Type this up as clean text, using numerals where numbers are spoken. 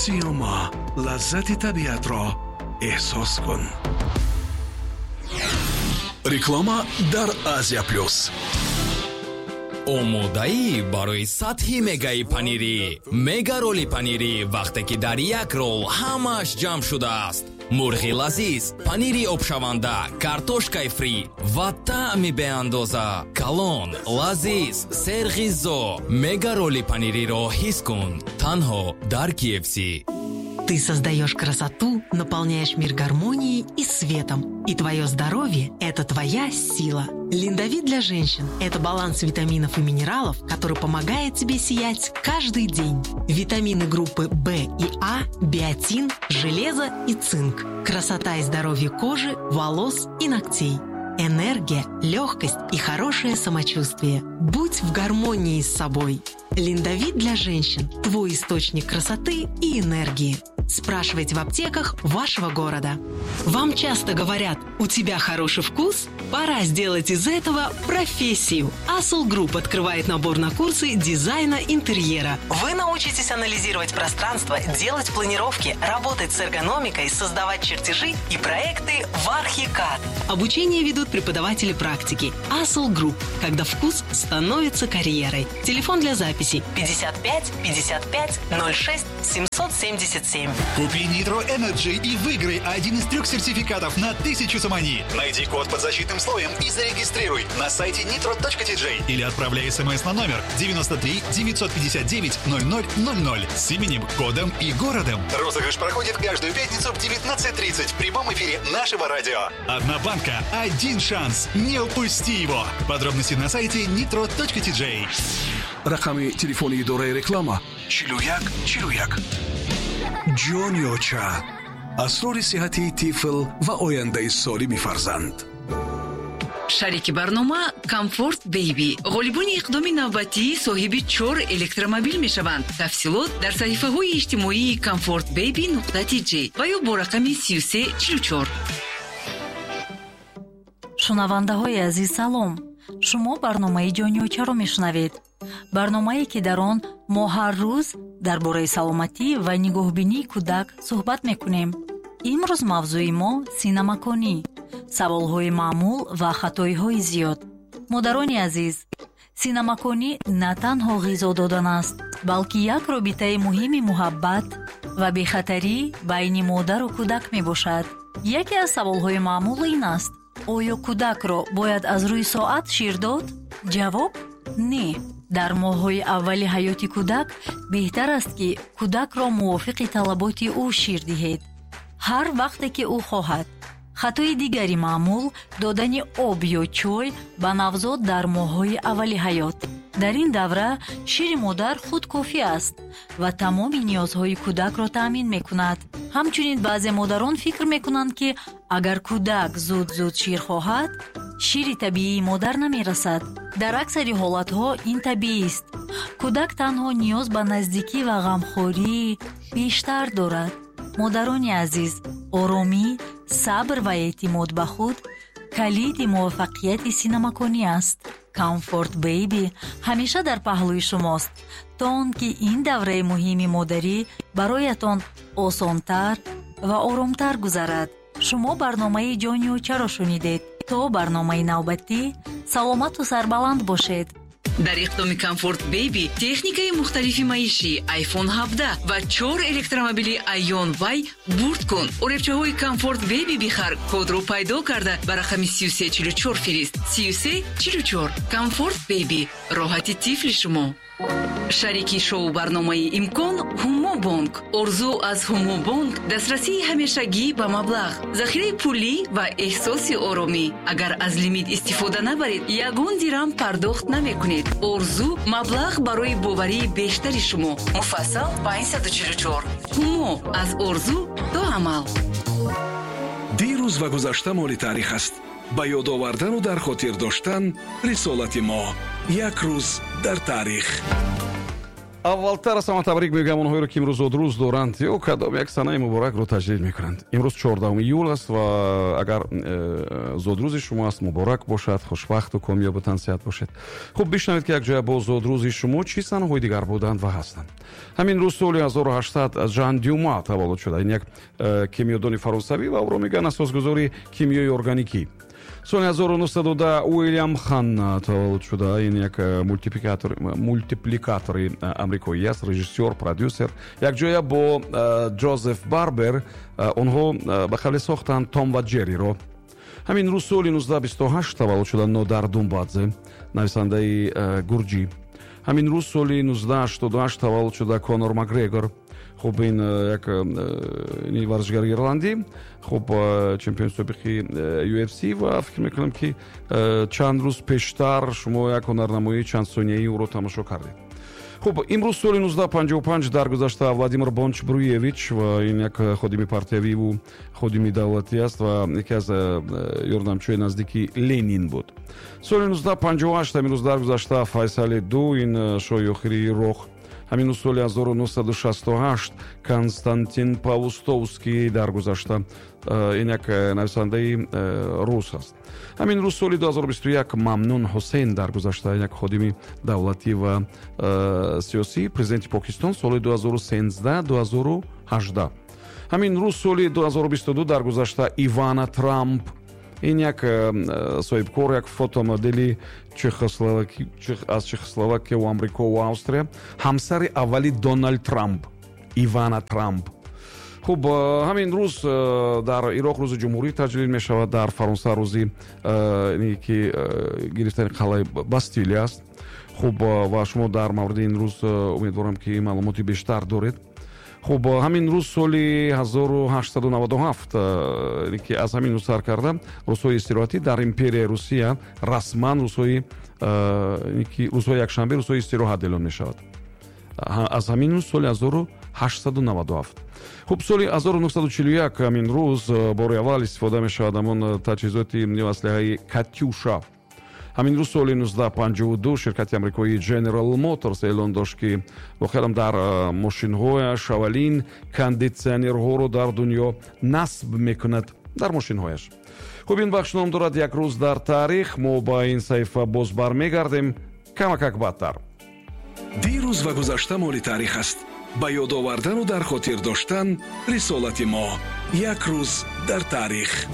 Сиёма, лаззати табиатро эҳсос кун. Реклама дар Азия Плюс. Омодаӣ барои сатҳи мегаи панирӣ? Мега роли панирӣ, вақте ки дар як рол ҳамааш ҷамъ шудааст: мурғи лазиз, панири обшаванда, картошкаи фри ва таъми беандоза. Калон, лазиз, серғизо. Мега роли панириро ҳис кун танҳо дар KFC. Ты создаешь красоту, наполняешь мир гармонией и светом. И твое здоровье – это твоя сила. Линдовит для женщин – это баланс витаминов и минералов, который помогает тебе сиять каждый день. Витамины группы В и А, биотин, железо и цинк. Красота и здоровье кожи, волос и ногтей. Энергия, легкость и хорошее самочувствие. Будь в гармонии с собой. Линдовит для женщин – твой источник красоты и энергии. Спрашивайте в аптеках вашего города. Вам часто говорят: «У тебя хороший вкус»? Пора сделать из этого профессию. Асул Групп открывает набор на курсы дизайна интерьера. Вы научитесь анализировать пространство, делать планировки, работать с эргономикой, создавать чертежи и проекты в Архикад. Обучение ведут преподаватели практики. Асул Групп. Когда вкус становится карьерой. Телефон для записи 55 55 06 777. Купи Nitro Energy и выиграй один из трех сертификатов на 1000 сомони. Найди код под защитным слоем и зарегистрируй на сайте nitro.tj или отправляй смс на номер 93 959 0000 с именем, кодом и городом. Розыгрыш проходит каждую пятницу в 19:30 в прямом эфире нашего радио. Одна банка, один шанс. Не упусти его. Подробности на сайте nitro.tj. Рақами телефони идораи реклама 41 41. Ҷони оча, асрори сиҳатии тифл ва ояндаи солими фарзанд. Шарики барнома Комфорт Бейби. Ғолибони иқдоми навбатӣ соҳиби чор электромобил мешаванд. Тафсилот дар саҳифаҳои иҷтимоии Комфорт Бейби нуқта тж ва ё бо рақами 3344. Шунавандаҳои азиз, салом! Шумо барномаи Ҷони очаро мешунавед, барномае, ки дар он мо ҳар рӯз дар бораи саломатӣ ва нигоҳбинии кӯдак суҳбат мекунем. Имрӯз мавзӯи мо синамаконӣ, саволҳои маъмул ва хатоиҳои зиёд. Модарони азиз, синамаконӣ на танҳо ғизо додан аст, балки як робитаи муҳими муҳаббат ва бехатарӣ байни модару кӯдак мебошад. Яке аз саволҳои маъмул ин аст: оё кӯдакро бояд аз рӯи соат шир дод? Ҷавоб: не. Дар моҳҳои аввали ҳаёти кӯдак беҳтар аст, ки кӯдакро мувофиқи талаботи ӯ шир диҳед, ҳар вақте ки ӯ хоҳад. Хатои дигари маъмул: додани об ё чой ба навзод дар моҳҳои аввали ҳаёт. Дар ин давра шири модар худ кофӣ аст ва тамоми ниёзҳои кӯдакро таъмин мекунад. Ҳамчунин баъзе модарон фикр мекунанд, ки агар кӯдак зуд-зуд шир хоҳад, шири табиии модар намерасад. Дар аксари ҳолатҳо ин табиист. Кӯдак танҳо ниёз ба наздикӣ ва ғамхории бештар дорад. Модарони азиз, оромӣ, сабр ва эътимод ба худ калиди муваффақияти синамаконӣ аст. Комфорт Бейби ҳамеша дар паҳлӯи шумост, то он ки ин давраи муҳими модарӣ бароятон осонтар ва оромтар гузарад. Шумо барномаи Ҷони очаро шунидед. То барномаи навбатӣ саломату сарбаланд бошед. Дар иқдоми Комфорт Бейби техникаи мухталифи маишӣ, iPhone 17 ва чор электромобили Aion Y бурд кун. Оребчаҳои Комфорт Бейби бихар, кодро пайдо карда, ба рақами 3344 фирист. 3344. Комфорт Бейби, роҳати тифли шумо. Шарики шоу барномаи Имкон Ҳумо Бонк. Орзу аз Ҳумо Бонк: дастрасии ҳамешагӣ ба маблағ, захираи пулӣ ва эҳсоси оромӣ. Агар аз лимит истифода набаред, ягон дирам пардохт намекунед. Орзу: маблағ барои боварии бештари шумо. Муфассал 544. Ҳумо: аз орзу то амал. Дирӯз ва гузашта моли таърих аст. Ба ёд овардану дар хотир доштан рисолати мо. Як рӯз дар таърих. Аввалтар аз ҳама табрик мегӯям онҳоеро, ки имрӯз зодрӯз доранд ё кадом як санаи муборакро таҷлил мекунанд. Имрӯз 14 июл аст ва агар зодрӯзи шумо аст, муборак бошад, хушбахту комёбу тансиҳат бошед. Хуб, бишнавед, ки якҷоя бо зодрӯзи шумо чӣ санаҳои дигар буданд ва ҳастанд. Ҳамин рӯз соли 1800 Жан Дюма таваллуд шуда. Ин як кимиёдони фаронсавӣ ва ӯро мегӯянд асосгузори кимиёи органикӣ. Соли 1910 Уильям Ханна таваллуд шуда. Ин як мультипликатори амрикоӣ аст, режиссёр, продюсер. Якҷоя бо Ҷозеф Барбер онҳо ба қавле сохтанд Том ва Ҷерриро. Ҳамин рӯз соли 1928 таваллуд шуда Нодар Думбадзе, нависандаи гурҷӣ. Ҳамин рӯз соли 1988 таваллуд шуда Конор Макгрегор. Хуб, ин як варзишгари ирландӣ, хуб, чемпиони собиқи UFC, ва фикр мекунам, ки чанд рӯз пештар шумо як ҳунарнамоии чандсонияи ӯро тамошо кардед. Хуб, имрӯз соли 1955 даргузашта Владимир Бонч-Бруевич ва ин як ходими партиявиву ходими давлатӣ аст ва яке аз ёрдамчиҳои наздики Ленин буд. Соли 1958 ҳамин рӯз даргузашта Файсали Ду, ин шоҳи охири Ироқ. Ҳамин рӯз соли 1968 Константин Паустовский даргузашта. Ин як нависандаи рус аст. Ҳамин рӯз соли 2021 Мамнун Ҳусейн даргузашта, як ходими давлатӣ ва сиёсӣ, президенти Покистон соли 2013, 2018. Ҳамин рӯз соли 2022 даргузашта Ивана Трамп. Ин як соҳибкор, як фотомодели аз Чехословакия ва Амрико ва Австрия, ҳамсари аввали Дональд Трамп, Ивана Трамп. Хуб, ҳамин рӯз дар Ироқ рӯзи ҷумҳурӣ таҷлил мешавад. Дар Фаронса рӯзи ки гирифтани қалъаи Бастилия аст. Хуб, ва шумо дар мавриди ин рӯз, умедворам, ки маълумоти бештар доред. Хуб, ҳамин рӯз соли 1897, ки аз ҳамин рӯз сар карда, рӯзҳои истироҳатӣ дар империяи Русия расман рӯзҳои якшанбе рӯзҳои истироҳат эълон мешавад аз ҳамин рӯз, соли 1897. Хуб, соли 1941 ҳамин рӯз бори аввал истифода мешавад ҳамон таҷҳизоти ё аслиҳаи Катюша. Ҳамин рӯз соли 1952 ширкати амрикоии General Motors эълон дошт, ки воқеан дар мошинҳояш аввалин кондитсионерҳоро дар дунё насб мекунад дар мошинҳояш. Хуб, ин бахш ном дорад «Як рӯз дар таърих». Мо ба ин саҳифа боз бармегардем камакак баъдтар. Дирӯз ва гузашта моли таърих аст. Ба ёд овардану дар хотир доштан рисолати мо. Як рӯз дар таърих.